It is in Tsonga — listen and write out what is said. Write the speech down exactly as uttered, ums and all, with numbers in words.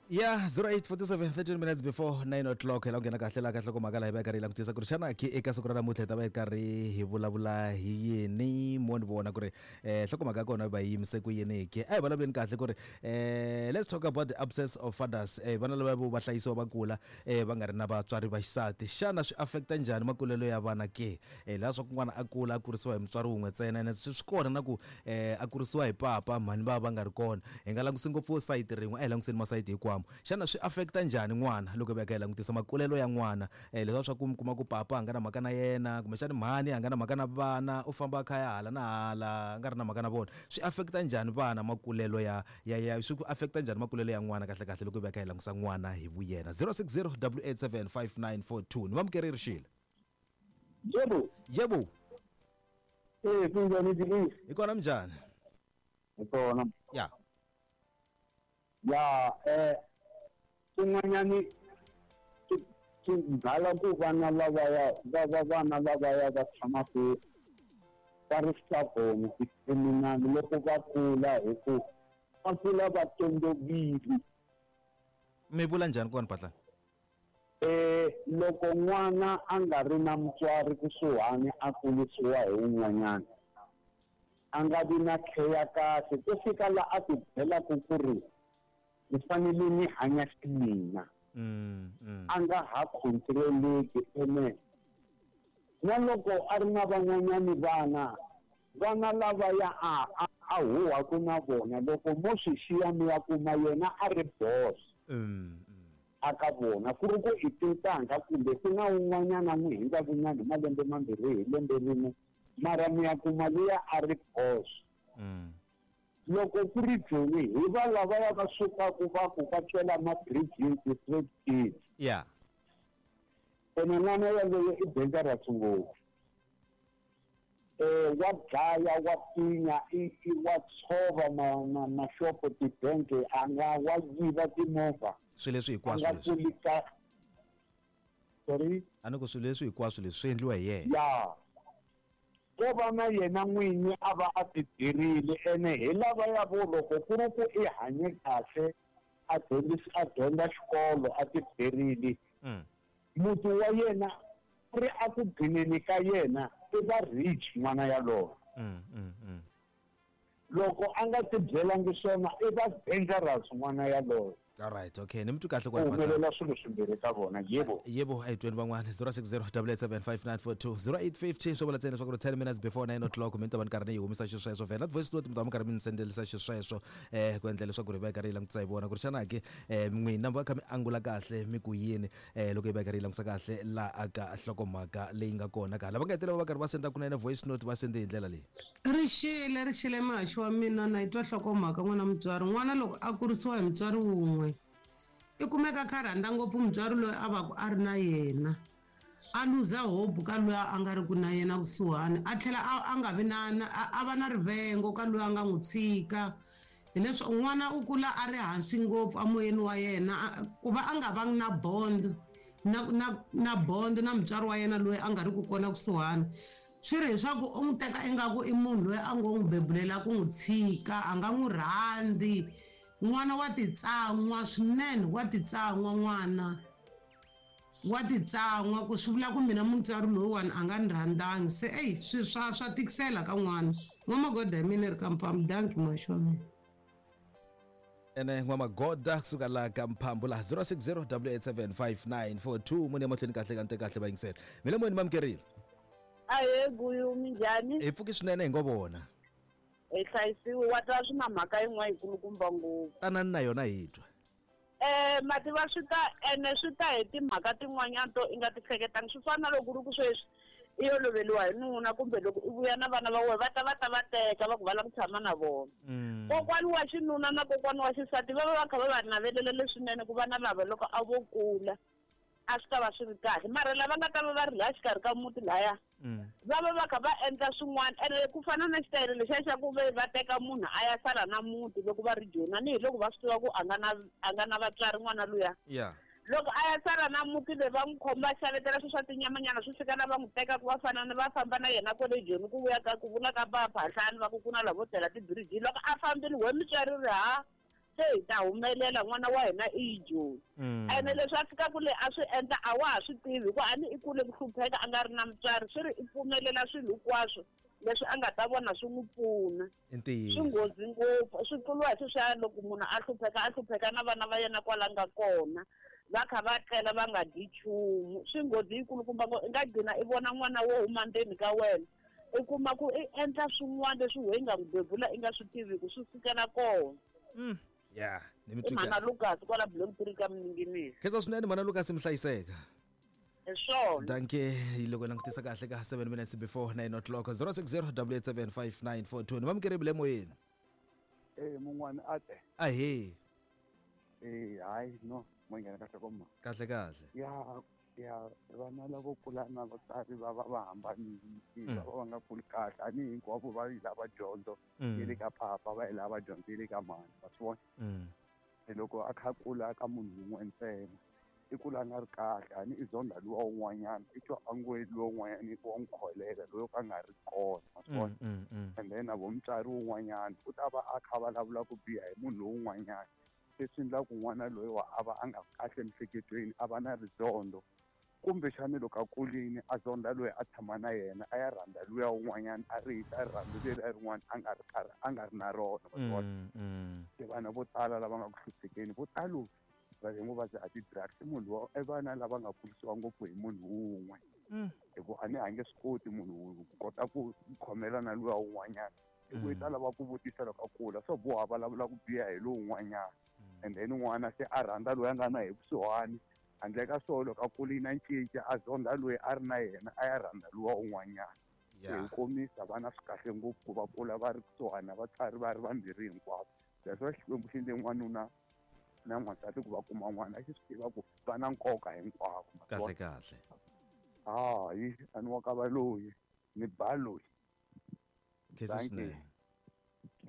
Ya zero eight forty-seven thirteen minutes before nine o'clock hi la ku nghena kahle laha ka nhlokomhaka laha hi va hi karhi hi langutisa ku ri xana ke eka siku ra namuntlha hi ta va hi karhi hi vulavula hi yini mo ni vona ku ri eh nhlokomhaka ya kona va yi yimise ku yini ke a hi vulavuleni kahle ku ri eh let's talk about the absence of fathers eh vana lava vo va hlayisiwa va kula eh va nga ri na vatswari va xisati xana swi affecta njhani makulelo ya vana ke eh laha swa ku n'wana a kula a kurisiwa hi mutswari wun'we ntsena ene swi swi kona na ku eh a kurisiwa hi papa mhani va va nga ri kona hi nga langusi ngopfu sayiti rin'we a hi languseni masayiti hinkwawo xana swi affecta njhani n'wana loko hi va hi kha hi langutisa makulelo ya n'wana eh leswiya swa ku mi kuma ku papa a nga na mhaka na yena kumbexani mhani a nga na mhaka na vana u famba a kha ya hala na hala a nga ri na mhaka na vona swi affecta njhani vana makulelo ya ya ya swi ku affecta njhani makulelo ya n'wana kahle kahle loko hi va hi kha hi langusa n'wana hi vuyena zero six zero double eight seven five nine four two ni vamukeri Rixile Yebo. Yebo. Eh kunjani Dilisi? Hi kona minjhani? Hi kona. Ya. Ya eh kun'wanyani swi byala ku vana lavaya va va vana lavaya va tshamaka va ri stubborn ti-criminal loko va kula hi ku va kula va tondovile. Mi vula njhani kona Phahlane? Eh loko n'wana a nga ri na mutswari kusuhani a kurisiwa hi wun'wanyana a nga vi na care ya kahle ku fika la a ti byelaka ku ri ni fanele ni hanya ximina Mm, mm. a nga ha controleki ene na loko a ri na van'wanyani vana vana lavaya a a a huhwaku na vona loko mo swi xiya mi ya kuma yena a ri boss Mm, mm. a ka vona ku ri ku i tintangha kumbe ku na wun'wanyana n'wi hundzaka nyana hi malembe mambirhi hi lembe rin'we mara mi ya kuma luya a ri boss Mm. loko ku ri Joni hi va lavaya va sukaka va ku va cela ma-bridging ti-street kids Yeah. ene n'wana yaloye i dangerous ngopfu eh wa dlaya wa pfinya i i wa tshova ma ma maxopo tibanke a nga wa yiva timovha Swilo leswi a hinkwaswo nga leswi kuli ka sorry a ni ku swilo leswi hinkwaswo leswi swi endliwa hi yena ya ko va na yena n'winyi a va a ti byerile ene hi lavaya vo loko ku ri ku i hanye kahle a dyondzisi a dyondza xikolo a ti byerile Mm. muti wa yena ri a ku gcineni ka yena i va rich n'wana yaloye Mm, mm, mm. loko a nga ti byelangi swona i va dangerous n'wana yaloye All right, okay. Ni mi twi kahle ku kwala Phahlane. humelela swilo swimbirhi ka vona yebo Yebo, a hi tweni van'wana zero six zero double eight seven five nine four two zero eight fifty swo vula ntsena leswaku ri ten minutes before nine o'clock mi ta va ni karhi ni yi humisa xisweswo vhela voice note mi ta va mi karhi mi ni sendelisa xisweswo eh ku endla leswaku ri va hi karhi hi langutisa hi vona ku ri xana ke eh n'wina va kha mi angula kahle mi ku yini eh loko hi va hi karhi hi langutisa kahle laha ka nhlokomhaka leyi nga kona ka lava nga hetelela va karhi va senda kunene voice note va sende hi ndlela leyi Rixile rixile muhaxi wa mina na yi twa nhlokomhaka n'wana mutswari n'wana loko a kurisiwa hi mutswari wun'we i kumeka a kha a rhandza ngopfu mutswari loyi a va ku a ri na yena a luza hope ka loyi a nga ri ku na yena kusuhani a tlhela a a nga vi na na a a va na rivengo ka loyi a nga n'wi tshika hileswi n'wana u kula a ri hansi ngopfu emoyeni wa yena a- ku va a nga vangi na bond na na na bond na mutswari wa yena loyi a nga ri ku kona kusuhani swi ri leswaku u n'wi teka ingaku i munhu loyi a ngo n'wi bebulela ku n'wi tshika a nga n'wi rhandzi n'wana wa titsan'wa swinene wa titsan'wa n'wana wa titsan'wa ku swi vula ku mina mutswari loyiwani a nga ni rhandzangi se eyi swi swa swa tikisela ka n'wana n'wamagoda hi mina ri ka mphambu danki muhaxi wa mina ene n'wamagoda kusuka laha ka mphambu laha zero six zero double eight seven five nine four two muni emahlweni kahle ka nte kahle va yingisela mi le moyeni mamukerile Ahee Guyu minjhani hi pfuki swinene hi ngo vona hi hlayisiwe wa twa swi na mhaka yin'wana yikulukumba ngopfu tanani na yona hi twa eh mativa swi ta ene swi ta hi timhaka tin'wanyana to i nga ti hleketangi swi fana na loko ku ri ku sweswi i yo loveriwa hi nuna kumbe loko i vuya na vana va wena va ta va ta va teka va ku va lava ku tshama na vona Mm. kokwani wa xinuna na kokwani wa xisati va va va kha va va navelela leswinene ku vana lava loko a vo kula a swi ta va swi ri kahle mara lava nga ta va va ri laha xikarhi ka muti laya Mm. va va va kha va endla swin'wana ene ku fana na xitayele lexiya xa ku ve va teka munhu a ya sala na muti loko va ri joni tanihi loko va swi tiva ku a nga na a nga na vatswari n'wana luya Yeah. loko a ya sala na muti leyi va n'wi khoma va xavetela swilo swa tinyamanyana swi fika na va n'wi teka ku va fana na va famba na yena kwale joni ku vuya ka ku vula ka va phahlani va ku ku na lavo tlela tibirijini loko a fambile we mutswari ri ha Se hi ta humelela n'wana wa hina i yijoni. Ene leswi a fikaka le a swi endla a wa ha swi tivi hikuva a ni i kule ku hlupheka a nga ri na mutswari swi ri i pfumelela swilo hinkwaswo leswi a nga ta vona swi n'wi pfuna. Swi nghozi ngopfu swi tluriwa hi sweswiya loko munhu a hlupheka a hlupheka na vana va yena kwala nga kona va kha va tlela va nga dyi nchumu swi nghozi yikulukumba ngo i nga gcina i vona n'wana wo huma ndzeni ka wena i kuma ku i endla swin'wana leswi wehe i nga n'wi bebula i nga swi tiviku swi sukela kona. Ya ni mi I mhana Lucas kwala Bloem three ka Mninginisi. Khensa swinene mhana Lucas mi hlayiseka. Hi swona. Dankie loko langutisa kahle ka seven minutes before nine o'clock zero six zero double eight seven five nine four two ni mamukeri emoyeni. Eh mun'wana a te. Ahee. Eh hayi no mo nghena kahle komma. Kahle kahle. Ya ya vana lavo kula na vatswari va va va hambanile va va nga kuli kahle a ni hinkwavo va yi lava dyondzo yi le ka papa va yi lava dyondzo yi le ka mhani wa swi vona. Loko a kha a kula ka munhu wun'we ntsena i kula a nga ri kahle a ni i zonda luwa wun'wanyana i twa a ngo luwa wun'wanyana wa n'wi kholela loyi ka nga ri kona wa swi vona. And then na vo mutswari wun'wanyana u ta va a kha vulavula ku biha hi munhu lowun'wanyana leswi endlaku n'wana loyi wa a va a nga kahle emiehleketweni a va na rizondo kumbexani loko a kulini a zonda loyi a tshama na yena a ya rhandza luya wun'wanyana a rihisa rirhandzu leri rin'wana a nga ri karhi a nga ri na rona wa swi vona. Se vana vo tala lava nga ku hluphekeni vo talo va ngo va dzaha ti-drugs i munhu wa i vana lava nga kurisiwa ngopfu hi munhu wun'we hi ku a ni a nge swi koti munhu ku kota ku khomela na luya wun'wanyana hi ku i ta lava ku vutisa loko a kula swo boha vulavula ku biha hi lowun'wanyana and then n'wana se a rhandza loyi a nga na hi kusuhani handle ka swona loko a kulini a cinca a zonda loyi a ri na yena a ya rhandza luwa un'wanyana. Hi komisa vana swi kahle ngopfu ku va kula va ri kusuhani na vatswari va ri vambirhi hinkwavo. That's why Xikwembu xi endle n'wanuna na n'wansati ku va kuma n'wana a xi swi tiva ku va na nkoka hinkwavo. Kahle kahle. Hayi a ni wa ka valoyi ni ba loyi. Khensa swinene.